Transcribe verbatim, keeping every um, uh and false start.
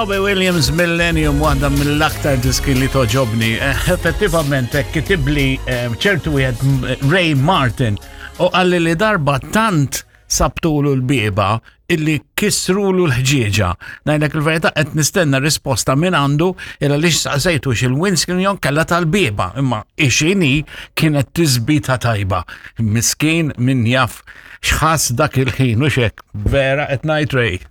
Robbie Williams, Millennium, waħda mill-aktar diski li togħġobni. Eh, Effettivament, eh, kitibli eh, ċertu wieħed m- Ray Martin u qalli li darba tant sabtulu l-bieba illi kisrulu l-ħġieġa. Ngħidlek il-verità, qed nistenna risposta minn għandu illa li saqsejtu xil-windscreen jew kella tal-bieba, imma ixini kienet tisbita tajba. Miskin, min jaf x'ħass dak il-ħin u xek. Vera qed ngħid, Ray.